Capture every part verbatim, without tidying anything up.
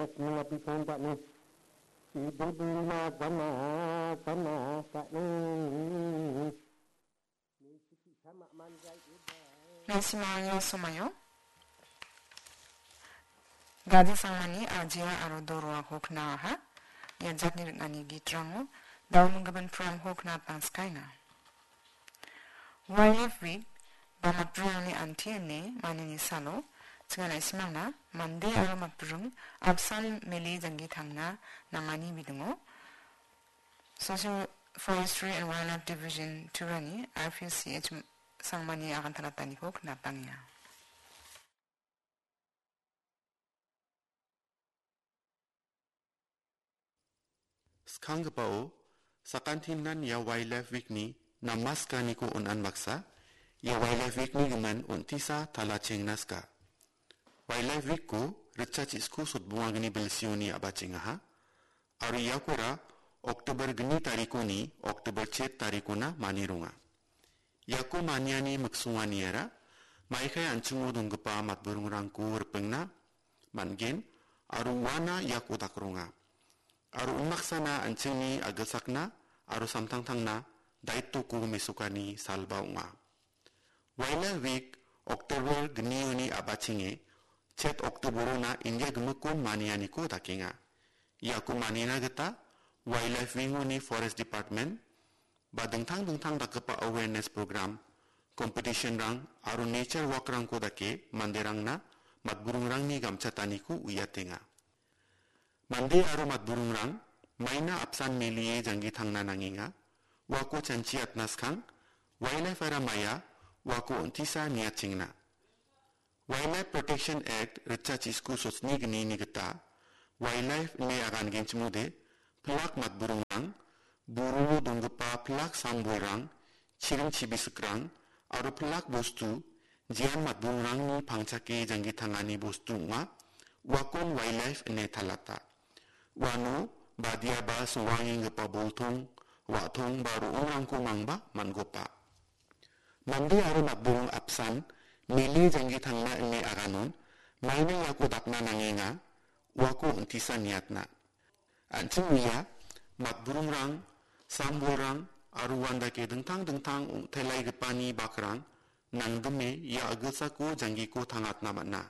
Mengabisong dakni. Ibu bima sama sama dakni. Naisimangni somaio Gadi Sangmani Ajia aro Doroako knaha. Ia jatni ring·ani gitrango dauminggimin programko knatangskaenga. Wildlife Week ba matburingni anti ine manini salo, chinga naisimangna mande aro matburing apsan mele janggi tangna nangani bidingo Social Forestry and Wildlife Division Turani R P C H Sangmani agantalataniko knatangenga. Skanggipao, sakantinan ia Wildlife Week-ni namaskaniko on·an baksa, ia Wildlife Week-ni gimin on·tisa talachengna ska. Wildlife Week-ko ritchachiko sotbongagni bilsioni a·bachengaha, aro iakora October gni tarikoni October chet tarikona manironga. Iako maniani miksonganiara maikai an·chingo donggipa matburingrangko ripengna man·gen aro uana iako dakronga. Aro unbaksana an·chingni agilsakna aro samtangtangna daitoko mesokani salba ong·a. Wildlife Week October gnioni a·bachenge chet Octoberona India gimikon manianiko dakenga. Iako manina gita Wildlife Wing-oni Forest Department ba dingtang dingtang dakgipa awareness program, competition-rang aro nature walk-rangko dake manderangna matburingrangni gamchataniko uiatenga. Mande aro matburingrang maina apsan melie janggi tangna nangenga, uako chanchi atna skang, wildlife-ara maia, uako on·tisa niatchengna. Wildlife Protection Act ritchachiko sotni gnini gita, wildlife ine agangenchimode, pilak matburingrang, buruo donggipa pilak sambolrang, chiring chibisikrang, aro pilak bostu, jean matburingrangni pangchake janggi tangani bostu ong·a, uakon wildlife ine talata. Uano badiaba songwangengipa boltong, wa·tong ba ro·ongrangko mangba man·gopa. Mande aro matburing apsan mele janggi tangna ine aganon, maina iako dakna nangenga, uako on·tisa niatna. An·ching uia, matburingrang, sambolrang, aro uandake dingtang dingtang ong·telaigipani bakrang, nangdime ia agilsako janggiko tangatna man·a.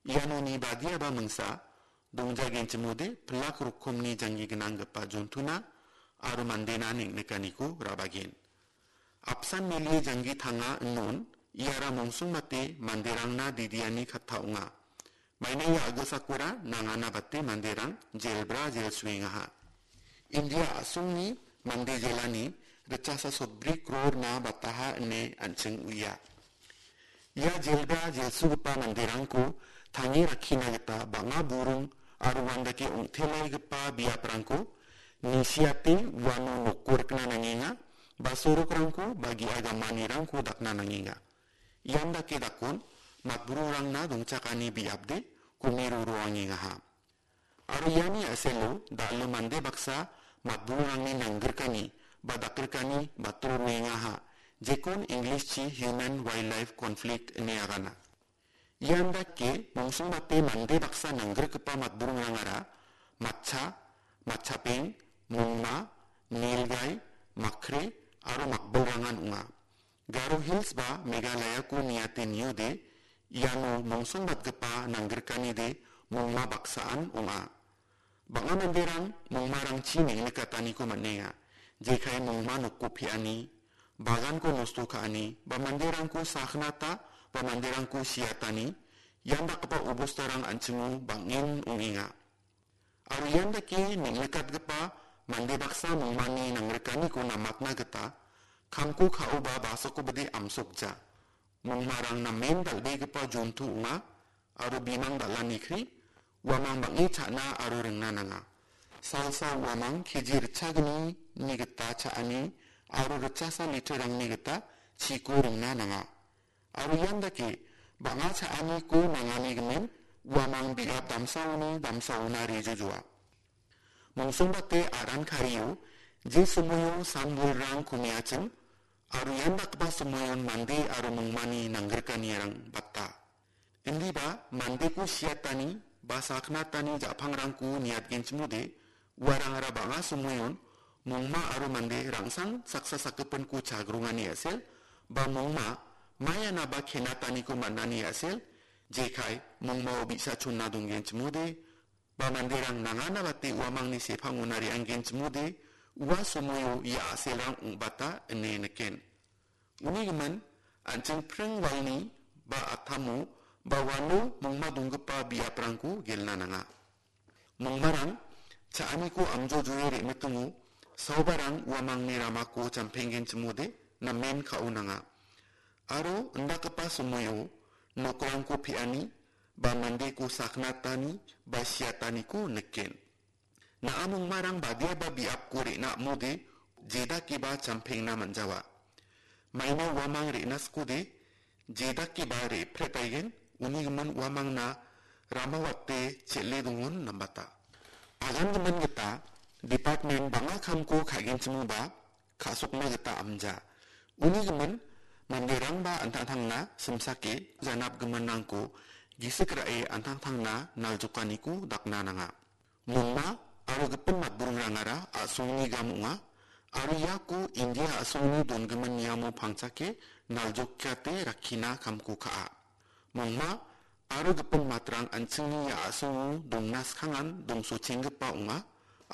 Ianoni badiaba mingsa, dongjagenchimode pilak rokomni janggi gnanggipa jontuna aro mandena neng·nikaniko rabagen. Apsan melie janggi tanga inon, iara mongsongbate manderangna didiani katta ong·a. Maina ia agilsakora nangana bate manderang jelbra jelsuengaha. India a·songni mande jelani ritchasa sotbri krorna bataha ine an·ching uia. Ia jelbra jelsugipa manderangko tange rakkina gita bang·a buring aro uandake ong·telaigipa biaprangko nisiate uano nokko rikna nangenga, ba sorokrangko ba ge·a gamanirangko dakna nangenga. Ian dake dakon matburingrangna dongchakani biapde komiro roangengaha. Aro iani a·selo dal·o mande baksa matburingrangni nanggrikani ba dakgrikani batro roengaha, jekon English-chi human wildlife conflict ine agana. Ian dake mongsongbate mande baksa nanggrikgipa matburingrangara matcha, matchapeng, mongma, nilgai, makre aro makbilrangan ong·a. Garo Hills ba Meghalayako niate niode, iano mongsongbatgipa nanggrikanide mongma baksaan ong·a. Bang·a manderang mongmarangchi neng·nikataniko man·enga, jekai mongma nokko pe·ani, baganko nosto ka·ani, ba manderangko saknata, ba manderangko siatani, ian dakgipa obostarang an·chingo bang·en ong·enga. Aro ian dake neng·nikatgipa mande baksa mongmani nangrikaniko namatna gita kamko ka·oba basakobade amsokja. Mongmarang namen dal·begipa jonto ong·a, aro bimang dal·anikri uamang bang·e cha·na aro ringna nanga. Salsa uamang keji ritchagnini gita cha·ani aro ritchasa literrangni gita chiko ringna nanga. Aro ian dake bang·a cha·aniko nangani gimin uamang biap damsaoni damsaona rejojoa. Mongsongbate aran kario je somoio sambolrang komeachim, aro ian dakgipa somoion mande aro mongmani nanggrikaniarang bata. Indiba mandeko siatani ba saknatani ja·pangrangko niatgenchimode, uarangara bang·a somoion mongma aro mande rangsang saksa sakgipinko chagrongani a·sel, ba mongma maianaba kenataniko man·ani a·sel, jekai mongmao bi·sa chonna donggenchimode, ba manderang nangana bate uamangni sepangona re·anggenchimode, ua somoio ia a·selrang ong·bata ine niken. Uni gimin, an·ching pring walni ba a·tamo ba uano mongma donggipa biaprangko gelna nanga. Mongmarang cha·aniko amjojroe re·mitingo, saobarang uamangni ramako jampenggenchimode namen ka·o nanga. Aro indakgipa somoio nokrangko pe·ani ba mandeko saknatani ba siataniko niken. Na·a mongmarang badiaba biapko re·na am·ode, jedakeba jampengna man·jawa. Maina uamang re·na skode, jedakeba re·pret baigen, uni gimin uamangna ramawate chel·e dongon nambata. Agangimin gita department bang·a kamko ka·genchimoba ka·sokna gita amja. Uni gimin manderangba an·tangtangna simsake janapgiminrangko gisik ra·e an·tangtangna naljokaniko dakna nanga. Mongma aro gipin matburingrangara a·songni gam ong·a, aro iako India a·songni dongimin niamo pangchake naljokate rakkina kamko ka·a. Mongma aro gipin matrang an·chingni ia a·songo dongna skangan dongsochenggipa ong·a,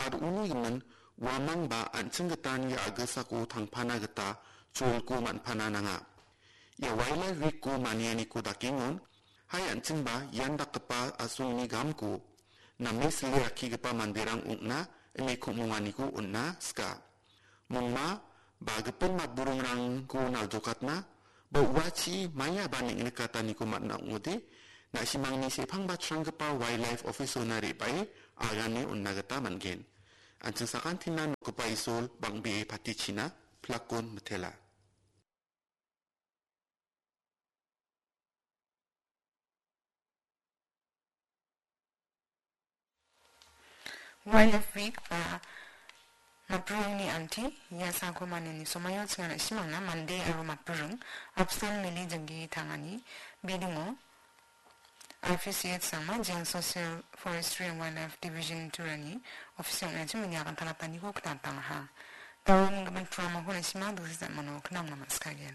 aro uni gimin uamangba an·ching gitan ia a·gisako tangpana gita cholko man·pana nanga. Ia Wildlife Week-ko manianiko dakengon, hai an·chingba ian dakgipa a·songni gamko name sile rakkigipa manderang ong·na ine kom·onganiko on·na sika. Mongma ba gipin matburingrangko naljokatna ba uachi maiaba neng·nikataniko man·a ong·ode, na·simangni sepang batranggipa Wildlife Office-ona re·bae agane on·na gita man·gen. An·ching sakantina nokgipa Isol bang·bee patichina pilakon mitela. Wildlife Week ba matburingni angti, ia sako maniani somoio chingana simangna mande aro matburing, apsan mili janggi tangani bidingo R P C H Sangma, Jiang Social Forestry and Wildlife Division Turani office ong·achim mini akan talataniko knatangaha. Daun gaban tuamako nasima dosis mano knamna maskagen.